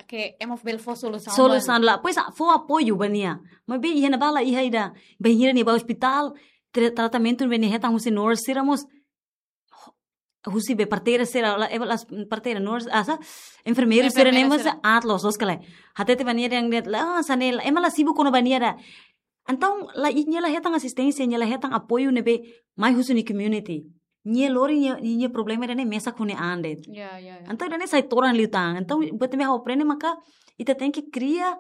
ke ema bele fó solusaun. Solusaun ba nia. Depois fó apoiu ba nia. Maibé iha ne'ebá la iha ida. Bainhira nia ba ospitál, tra-, tratamentu ne'ebé nia hetan husi nurse sira mós, husi be parteira sira, la, eh, las parteira, nurse, ah, sa, enfermeiru sira, enfermeira ne'e mós sira. Aat loos, loos ka lae. Hatete ba nia dehan de'it la, ah, hanesan ne'e, ema la sibu kona-ba nia ida. Entaun, la, i nia la hetan asisténsia, nia la hetan apoiu ne'ebé mai husi nia community. Nia lori nia, nia problema ida-ne'e mesak ho nia an de'it. Ya, ya, ya. Entaun, ida-ne'e sai todan liután. Entaun, buat ne'ebé ha'u aprende maka, ita tenke kria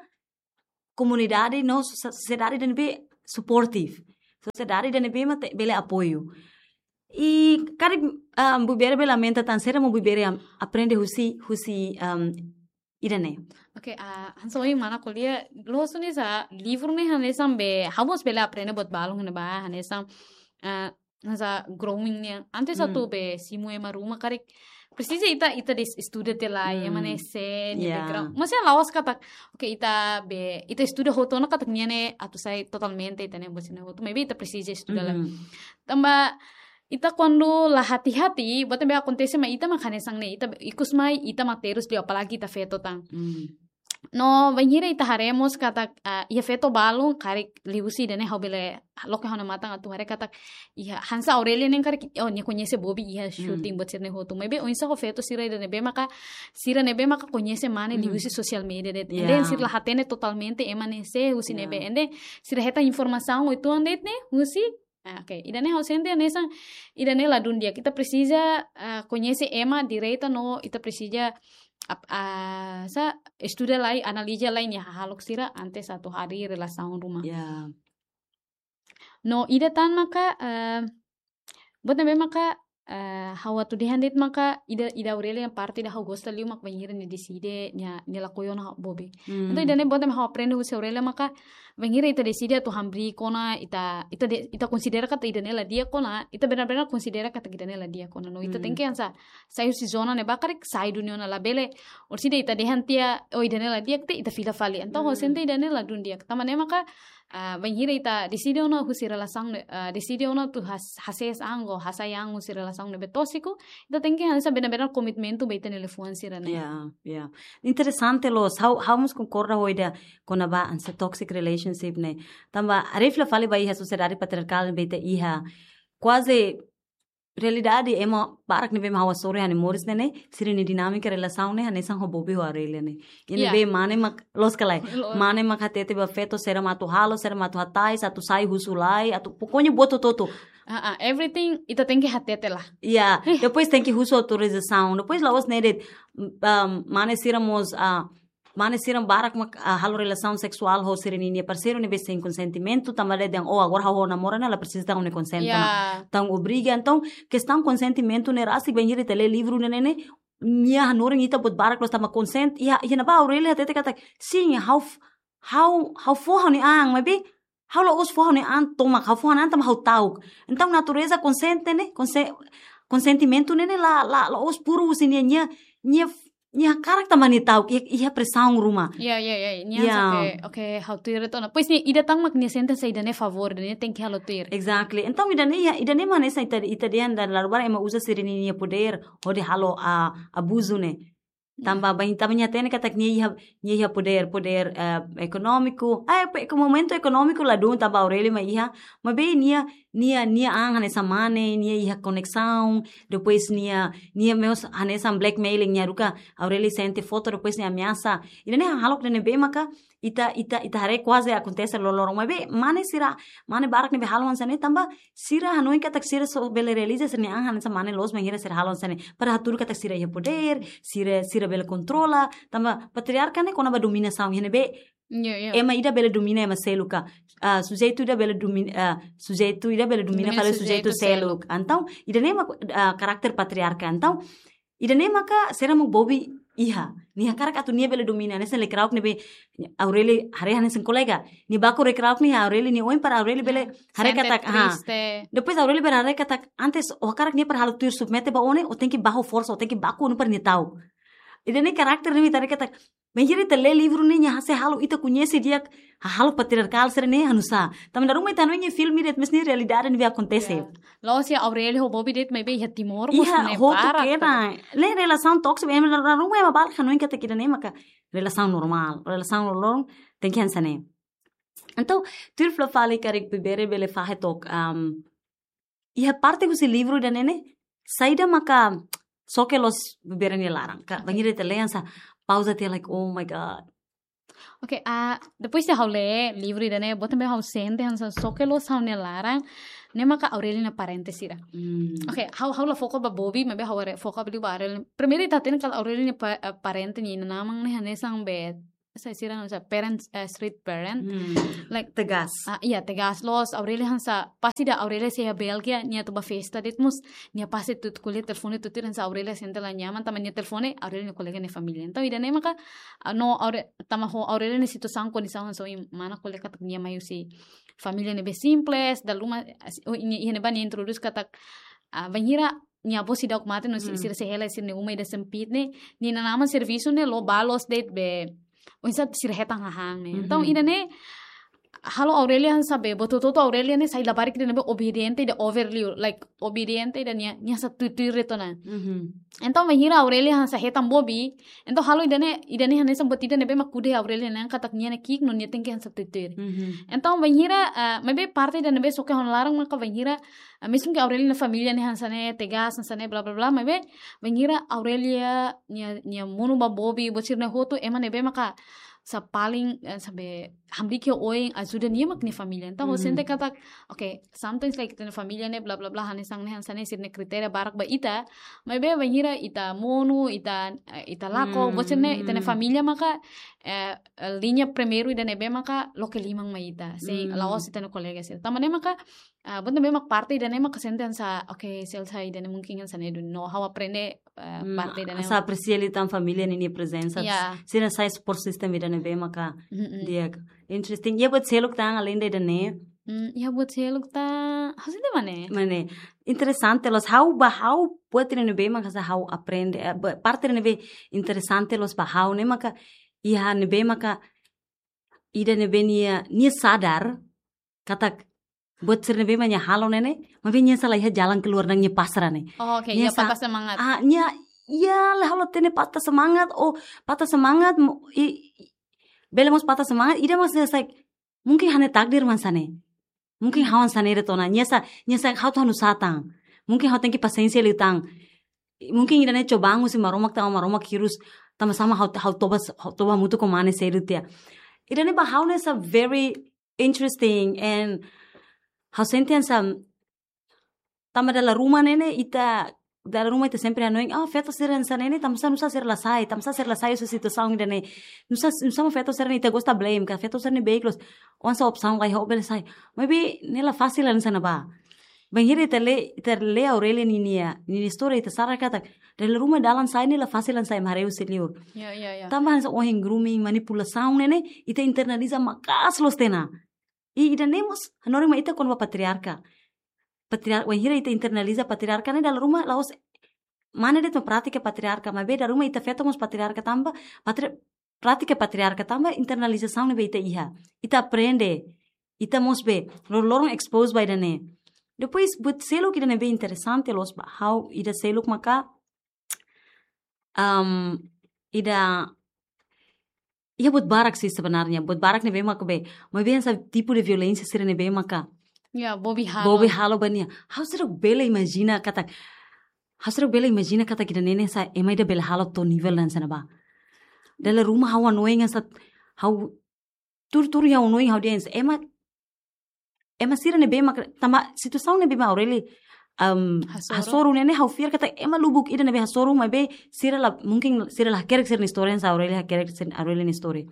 komunidade no so-, sosiedade ida ne'ebé supportive. Sosiedade ida ne'ebé mak ita bele apoiu. I karik, ah, Bubere bele aumenta tan saida mak Bubere am-, aprende husi, husi, um, ida-ne'e. Oke, ah, hanesan ohin mana ko'alia, loos ne'e hanesan livru ne'e hanesan be, ha'u mós bele aprende buat balun ne'ebá, hanesan, ah, hanesan growing nian. Antes atu be simu ema ruma karik presiza ita, ita des-, estuda tiha lai, ema ne'e sé, nia background. Maibé la'ós katak, oke, ita be, ita estuda hotu ona katak nia ne'e atu sai totalmente ita-nia buat sira-ne'e hotu. Maibé ita presiza estuda lai. Tanba ita kuandu la hati-hati, buat ne'ebé akontese mai ita mak hanesan ne'e, ita be, ikus mai ita mak terus liu apalagi ita feto tan. No, bainhira ita haree mós katak, ah, iha feto balun, karik liuhusi ida-ne'e ha'u bele loke ha'u-nia matan atu haree katak, iha hanesan Aurelia ne'e karik, oh, nia koñese Bobi iha shooting buat sira-ne'e hotu. Maibé oinsá ho feto sira ida ne'ebé maka, sira ne'ebé maka koñese mane liuhusi social media de'it. And then sira la hatene totalmente ema ne'e sé husi ne'ebé. And then sira hetan informasaun uitoan de'it ne'e husi Ah, oke. Ida-ne'e ha'u sente hanesan, ida-ne'e ladún di'ak. Ita presiza, ah, koñese ema direta no ita presiza ap-, ah, sa, estuda lai, analiza lai nia hahalok sira antes atu harii relasaun ruma. Ya. No, ida tan maka, ah, buat ne'ebé maka, ah, ha'u atu dehan de'it maka ida, ida Aurelia nia parte ida ha'u gosta liu mak bainhira nia deside, nia, nia lakohi ona Bobi. Entaun ida-ne'e buat ne'ebé ha'u aprende husi Aurelia maka bainhira ita deside atu hamriik ona, ita, ita de-, ita konsidera katak ida-ne'e la di'ak ona, ita benar-benar konsidera katak ida-ne'e la di'ak ona. No, ita tenke hanesan sai husi zona ne'ebá karik sai duni ona, labele, orsida ita dehan tiha, oh, ida-ne'e la di'ak tiha, ita fila fali. Entaun ha'u sente ida-ne'e ladún di'ak. Tanba ne'e maka, ah, bainhira ita deside ona husi relasaun ne'e, ah, deside ona atu has-, hasees an ka hasai an husi relasaun ne'ebé tóxico, ita tenke hanesan benar-benar komitmentu ba ita-nia liafuan sira-ne'e. Ya, ya. Interesante loos. Ha'u, ha'u mós konkorda ho ida kona-ba hanesan toxic relationship ne'e. Tanba haree fila fali ba iha sosiedade patriarkál ne'ebé ita iha. Kuaze realidade ema barak ne'ebé mak ha'u hasoru iha ha'u-nia moris ne'e ne'e, sira-nia dinámika relasaun ne'e hanesan ho Bobi ho Aurelia ne'e. Ida ne'ebé mane mak, loos ka lae. Loos. Mane mak hatete ba feto saida mak atu halo, saida mak atu hatais, atu sai husu lai, atu pokoknya buat hotu-hotu. Ah, ah, everything ita tenke hatete lah. Ya, depois tenke husu autorizasaun. Depois la'ós ne'e de'it, um, mane sira mós, ah, mane sira barak mak, ah, halo relasaun seksuál ho sira-ninia parseiru ne'ebé sein konsentimentu, tanba dehan, oh, agora ha'u ho namora ne'e la presiza tan ha'u-nia konsente ona. Tan obriga. Entaun, kestaun konsentimentu ne'e rasik bainhira ita lee livru ne'e ne'e, nia hanorin ita buat barak loos tanba konsente, iha, iha ne'ebá Aurelia hatete katak, sin, ha'u f-, ha'u, ha'u fó ha'u-nia an, maibé, ha'u la'ós fó ha'u-nia an tomak, ha'u fó ha'u-nia an tanba ha'u ta'uk. Entaun natureza konsente ne'e, konse-, konsentimentu ne'e ne'e la, la, la'ós puru husi nia, nia, nia f-, nia hakarak tanba nia ta'uk, iha, iha presaun ruma. Ya, ya, ya. Nia Ya. Oke, oke, ha'u tuir itu. Nah, pois nia ida tan mak nia sente hanesan ida-ne'e favór, nia tenke halo tuir. Exactly. Entaun ida-ne'e, ida-ne'e mak hanesan ita, ita dehan dala ruma ema uza sira-nia podér hodi halo, ah, abuzu ne'e. Tanba bain, tanba nia hatene katak nia iha, nia iha podér, podér, eh, ekonómiku. Ah, pe-, ke momentu ekonómiku ladún tanba Aurelio mak iha. Maibé nia, nia, nia an hanesan mane, nia iha koneksaun. Depois nia, nia mós hanesan blackmailing, nia haruka Aurelio sente foto, depois nia ameasa. Ida-ne'e hahalok ida ne'ebé maka ita, ita, ita haree kuaze akontese loroloron. Maibé mane sira, mane barak ne'ebé halo hanesan ne'e tanba sira hanoin katak sira só bele realiza sira-nia an hanesan mane loos bainhira sira halo hanesan ne'e. Para hatudu katak sira iha podér, sira, sira bele kontrola, tanba patriarka ne'e kona-ba dominasaun, iha ne'ebé Ya, ya. Ema ida bele domina ema seluk ka. Ah, sujeitu ida bele domina, ah, sujeitu ida bele domina Domina fali sujeitu sujeitu seluk. Seluk. Entaun, ida-ne'e mak, ah, karakter patriarka. Entaun, ida-ne'e maka sira mak Bobby iha. Nia hakarak atu nia bele domina, hanesan lekirauk ne'ebé Aurelio haree hanesan kolega. Nia baku lekirauk nia Aurelio nia oin para Aurelio bele haree Sente katak, ha. Triste. Depois Aurelio bele haree katak antes ó hakarak nia para halo tuir submete ba ó ne'e, ó tenke baku forsa, ó tenke baku ó ne'e para nia ta'uk. Ida-ne'e karakter ne'e mak ita haree katak bainhira ita lee livru ne'e nia sei halo ita koñese di'ak hahalok patriarkál sira-ne'e hanusá. Tanba dala ruma ita hanoin iha filme de'it, mas ne'e realidade ne'ebé akontese. Ya. La'ós iha Aurelio ho Bobby de'it maibé iha Timor mós Iha ne'e hotu barak kena. Ne'e relasaun tóksiku, ema dala ruma ema barak hanoin katak ida-ne'e maka relasaun normál. Relasaun loroloron tenke hanesan ne'e. Entaun, tuir fila fali karik Bebere bele fahe took, am, iha parte husi livru ida-ne'e ne'e, saida maka soke loos Bebere nia laran. Ka, bainhira ita lee hanesan pauza tiha like, oh my God. Oke, ah, depois de ha'u lee livru ida-ne'e, buat ne'ebé ha'u sente hanesan soke loos ha'u-nia laran, ne'e maka Aurelio nia parente sira. Hmm. Oke, ha'u, ha'u la foka ba Bobby, maibé ha'u haree foka ba Aurelio. Primeiru ita hatene katak Aurelio nia pa-, eh, parente nia inan-aman ne'e hanesan be, sai sira hanesan parents, eh, street parent. Hmm. Like, Tegas. Ah, iya, tegas loos. Aurelio hanesan, pasti ida Aurelio sei iha Bélgia, nia atu ba festa de'it mós, nia pasti tuir ko'alia telefone tuir hanesan Aurelio sente la nyaman, tanba nia telefone Aurelio nia kolega nia família. Entaun, ida-ne'e maka, ah, no, Aure-, tanba ho Aurelio nia situasaun kondisaun hanesan ohin mana ko'alia katak nia mai husi família ne'ebé simples, dala ruma, as-, oh, nia, nia, nia introdús katak, ah, bainhira nia avó seidauk mate no si-, Hmm. sira sei hela sira-nia uma ida sempit ne'e, nia inan-aman servisu ne'e la'o ba loos de'it be, oinsá sira hetan hahán ne'e. Entaun, Mhm. ida-ne'e, halo Aurelio hanesan be, buat hotu-hotu Aurelio ne'e sai labarik ida ne'ebé obediente ida over liu, like, obediente ida nia, nia hanesan tuir-tuir de'it ona. Mhm. Entaun, bainhira Aurelio hanesan hetan Bobby, entaun halo ida-ne'e, ida-ne'e hanesan buat ida ne'ebé mak kude Aurelio ne'e katak nia ne'e ki'ik no nia tenke hanesan tuir-tuir. Mhm. Entaun, bainhira, ah, maibé parte ida ne'ebé soke ha'u-nia laran maka bainhira, ah, mezmu ke Aurelio nia família ne'e hanesan ne'e tegas, hanesan ne'e bla bla bla, maibé bainhira Aurelio nia, nia monu ba Bobby, buat sira-ne'e hotu, ema ne'ebé maka hanesan paling, eh, hanesan be hamriik iha oin ajuda nia mak nia família. Entaun, ha'u Mhm. sente katak, oke, sometimes like ita-nia família ne'e bla bla bla, hanesan ne'e, hanesan ne'e, sira-nia kritéria barak ba ita, maibé bainhira ita monu, ita, eh, ita lakon, Hmm. buat sira-ne'e, ita-nia família maka, eh, eh, liña primeiru ida ne'ebé maka loke liman mai ita, sei Hmm. la'ós ita-nia kolega sira. Tanba ne'e maka, ah, buat ne'ebé mak parte ida-ne'e maka sente hanesan, oke, selsa ida-ne'e mungkin hanesan ne'e duni no ha'u aprende, eh, Hmm, parte ida-ne'e. Hanesan apresia liután família ninia prezensa. Ya. Sira sai support system ida ne'ebé maka Mm-mm. di'ak. Interesting. Iha buat seluk tan além de ida-ne'e? Hmm, iha buat seluk tan, ha'u sente mane? Mane. Interesante loos ha'u ba ha'u buat ida ne'ebé maka hanesan ha'u aprende, eh, ba-, parte ida ne'ebé interesante loos ba ha'u ne'e maka iha ne'ebé maka ida ne'ebé nia, nia sadar katak buat sira ne'ebé mak nia halo ne'e ne'e, maibé nia hanesan la iha jalan keluar nang nia pasrah ne'e. Oh, oke, Nia iya, sa-, patah semangat. Ah, nia, iya, la halo hatene patah semangat, oh, patah semangat, mo-, i, i, bele mós patah semangat, ida mós hanesan, mungkin ha'u-nia takdir mak hanesan ne'e. Mungkin Hmm. ha'u hanesan ne'e de'it ona, nia hanesan, nia hanesan ha'u atu hanusá tan. Mungkin ha'u tenke pasiénsia liután. Mungkin ida-ne'e cobaan husi Maromak tanba Maromak hirus, tanba sama ha'u, ha'u toba, ha'u toba hamutuk ho mane sedu tiha. Ida-ne'e ba ha'u ne'e hanesan very interesting and ha'u sente hanesan tanba dala ruma ne'e ne'e ita, dala ruma ita sempre hanoin, ah, feto sira hanesan ne'e ne'e, tanbasá nusá sira la sai, tanbasá sira la sai husi situasaun ida-ne'e. Nusá, nusá mak feto sira ne'e ita gosta blame, ka feto sira ne'e beik loos, hanesan opsaun laiha ó bele sai. Maibé ne'e la fasil hanesan ne'ebá. Bainhira ita lee, ita lee Aurelio ninia, ninia istória ita sara katak, dala ruma dalan sai ne'e la fasil hanesan ema haree husi liur. Ya, ya, ya. Tanba hanesan ohin grooming, manipulasaun ne'e ne'e, ita internaliza maka'as loos tiha ona. I ida-ne'e mós, hanorin mai ita kona-ba patriarka. Patriar-, bainhira ita internaliza patriarka ne'e dala ruma la'ós mane de'it mak prátika patriarka, maibé dala ruma ita feto mós patriarka tanba, patri-, prátika patriarka tanba internalizasaun ne'ebé ita iha. Ita aprende, ita mós be, loron-loron expose ba ida-ne'e. Depois, buat seluk ida ne'ebé interesante loos ba ha'u, ida seluk maka, um, ida, iha buat barak sih sebenarnya, buat barak ne'ebé maka be, maibé hanesan tipu de violénsia sira ne'ebé maka, ya, bobi halo. Bobi halo ba nia. Ha'u seidauk bele imajina katak, ha'u seidauk bele imajina katak ida-ne'e hanesan ema ida bele halo to'o nivel hanesan ne'ebá. Dala ruma ha'u hanoin hanesan, ha'u tuur-tuur ha'u hanoin ha'u dehan hanesan ema, ema sira ne'ebé mak, tanba situasaun ne'ebé mak Aurélia, um, hasoru. Hasoru ne'e ne'e ha'u fiar katak ema lubuk ida ne'ebé hasoru maibé sira la, mungkin sira la hakerek sira-nia istória hanesan Aurélia hakerek sira, Aurélia nia istória.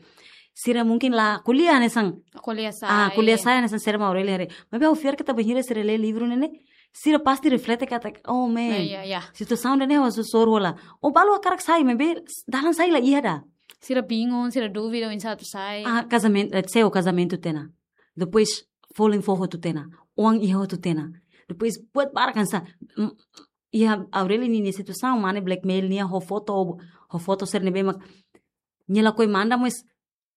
Sira mungkin la ko'alia hanesan, ko'alia, ah, sai, ko'alia sai hanesan sira mak Aurélia haree. Maibé ha'u fiar katak bainhira sira lee livru ne'e ne'e, sira pasti reflete katak, oh man, ya, ya, ya, situasaun ida-ne'e ha'u hasoru hola. Ou balu hakarak sai, maibé dalan sai la iha ida. Sira bingung, sira dúvida oinsá atu sai. Ah, kazamentu, eh, seu kazamentu tiha ona. Depois, folin foho hotu tiha ona. Oan iha hotu tiha ona. Depois, buat barak hanesan, mm, iha Aurélia ninia situasaun, mane blackmail nia ho foto, ho foto sira ne'ebé mak nia lakohi manda, mas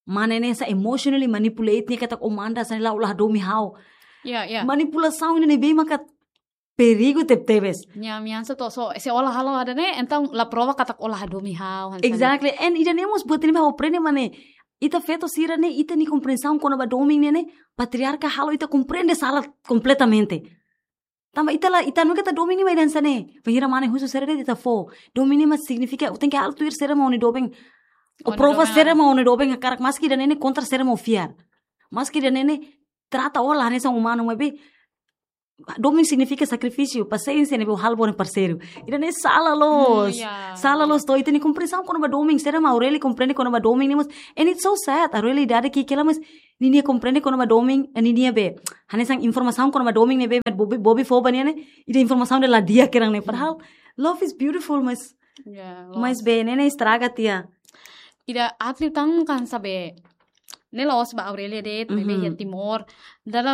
mane ne'e hanesan emotionally manipulate nia katak ó manda hanesan ne'e la, ó la hadomi ha'u. Ya, ya. Manipulasaun ida ne'ebé maka perigu tebetebes. Nia, nia hanesan to'o, so, se ó la halo ida-ne'e, entaun la prova katak ó la hadomi ha'u, hanesan ne'e. Exactly. And ida-ne'e mós buat ne'ebé ha'u aprende mane, ita feto sira ne'e, ita-nia komprensaun kona-ba domin ne'e ne'e, patriarka halo ita komprende sala kompletamente. Tanba ita la, ita nunka ita domin ne'e mak ida hanesan ne'e. Bainhira mane husu sira de'it ita fó. Domin ne'e mak signifika, ó tenke halo tuir sira mak ó-nia doben. Ó, ó-nia prova doben sira mak ó-nia doben hakarak, maski ida-ne'e ne'e kontra sira mak ó fiar. Maski ida-ne'e ne'e trata ó la hanesan umanu, maibé domin signifika sakrifísiu, pasiénsia ne'ebé ó halo ba ó-nia parseiru. Ida-ne'e sala loos. Hmm, ya. Sala loos to'o ita-nia komprensaun kona-ba domin, sira mak Aurélia komprende kona-ba domin ne'e mós. And it's so sad. Aurélia idade ki'ik hela mas ninia komprende kona-ba domin, eh, ninia be, hanesan informasaun kona-ba domin ne'ebé bobi, bobi fó ba nia ne'e, ida informasaun ida la di'ak kedan ne'e. Padahal love is beautiful, mas, ya, mas loos. Be, ne'e ne'e estraga tiha. Ida aat liután kan sabe, ne'e la'ós ba Aurélia de'it, maibé, mhm, iha Timor. Dala